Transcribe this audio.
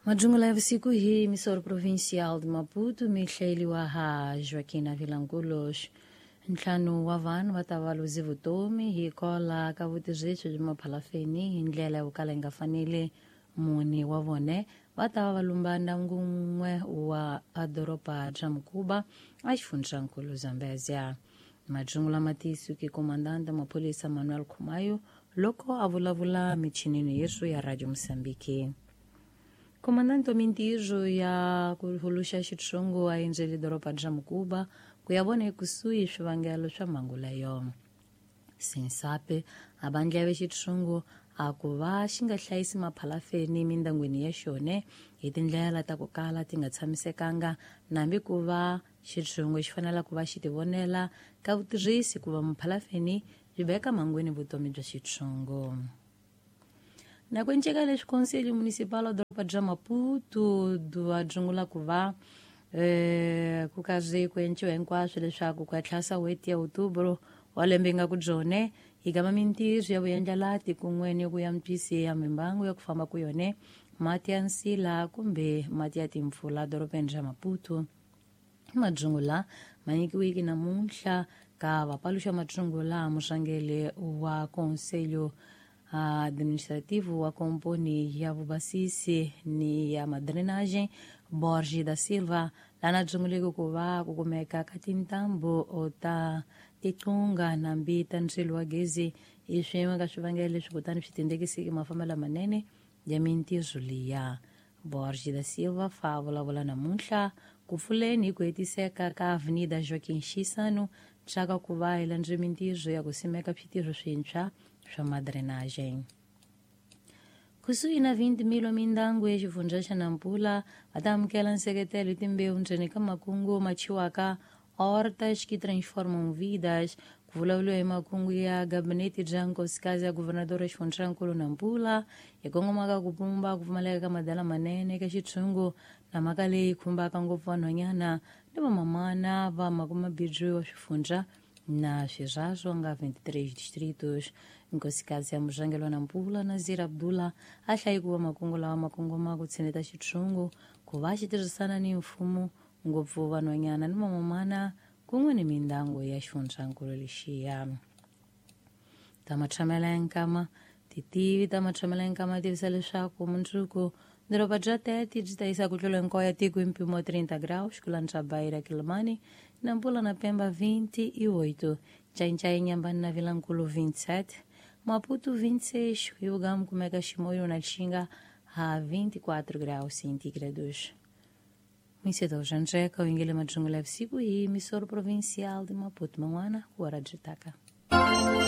Majungula ya vusiku hi misoro provincial de Maputo mihleliwa ha Joaquina Vilanculos. Ntlhanu wa vanhu va ta va luzi vutomi hi kola ka vutirhisi bya maphalafeni hi ndlela yo kala yi nga faneli. Mune wa vone va ta va va lumba ndyangu wun'we wa doroba bya Mukuba a xifundzankulu Zambezia. Majungula ma tiyisiweke komandante maphorisa Manuel Khumayo loko a vulavula michinini yesu ya Radio Mozambique. Komandante wa mintirho ya ku huluxa xitshungu a endzele doroba bya Mukuba ku ya vona ekusuhi swivangelo swa mhangu leyo. Sensape a va ndleve xitshungu a ku va xi nga hlayisi maphalafeni mindyangwini ya xone hi tindlela ta ku kala ti nga tshamisekanga, nambi ku va xitshungu xi fanele ku va xi tivonela ka vutirhisi ku va maphalafeni byi veka mhangwini vutomi bya xitshungu. Na ku enceka leswi Conselho Municipal wa doroba bya Maputo va dzungula ku va ku karhi ku enciwa hinkwaswo leswaku ku ya tlhasa n'hweti ya Outubro wa lembe nga ku byone hi gama mintirho ya vuyendlelati kun'we ni ku antswisi ya mimbangu ya ku famba ku yone mati ya nsila kumbe mati ya timpfula dorobeni ra Maputo. Madzungula ma nyikiweke namuntlha ka vapaluxa madzungula murhangeri wa Conselho Administrativo wa komponi ya vubasisi ni ya madrenagem Borges da Silva, lana dzunguleke ku va ku kumeka ka tintambu ta tiqunga nambi ta ndzilo wa gezi i swin'we ka swivangelo leswi kutani swi tindekisiki mafambelo lamanene ya mintirho liya. Borges da Silva fa vulavula namuntlha ku pfuleni hi ku hetiseka ka Avenida Joaquim Chissano nxaka ku va hi landze mintirho ya ku simeka switirho swintshwa swa madrenagem. Kusuhi na 20 mil mindyangu ya xifundza xa Nampula va ta amukela nseketelo hi timbewu ndzeni ka makungu ma chiwaka Hortas que Transformam Vidas, ku vulavuriwa hi makungu ya gabinete bya nkosikazi ya guvernadora xifundzankulu Nampula hi kongomaka ku pumba ku pfumaleka ka madala manene eka xitshungu na mhaka leyi khumbaka ngopfu vanhwanyana ni vamamana va makumabindzu wa swifundza na swirhaswo nga 23 distritos. Nkosikazi ya murhangeri wa Nampula Nazir Abdullah a hlayi ku va makungu lawa ma kongoma ku tshineta xitshungu ku va xi tirhisana ni mfumo ngopfu vanhwanyana ni vamamana kun'we ni mindyangu ya xifundzankulu lexiya. Ta matshamelo ya nkama titivi ta matshamelo ya nkama tivisa leswaku mundzuku doroba bya Tete byi ta yisa ku tlula hinkwayo ya tiko hi mpimo wa 30 graus ku landza Beira, Quelimane, Nampula na Pemba 28, Ncaincaí, Inhambane na Vilankulo 27, Maputo 26, Rio Gamo kumeka Chimoio na Lixinga a 24 graus centígrados. Mwiseto Janjeca, o Ingele Majungula siku hii, emissora provincial de Maputo, Manguana, Guarajitaca.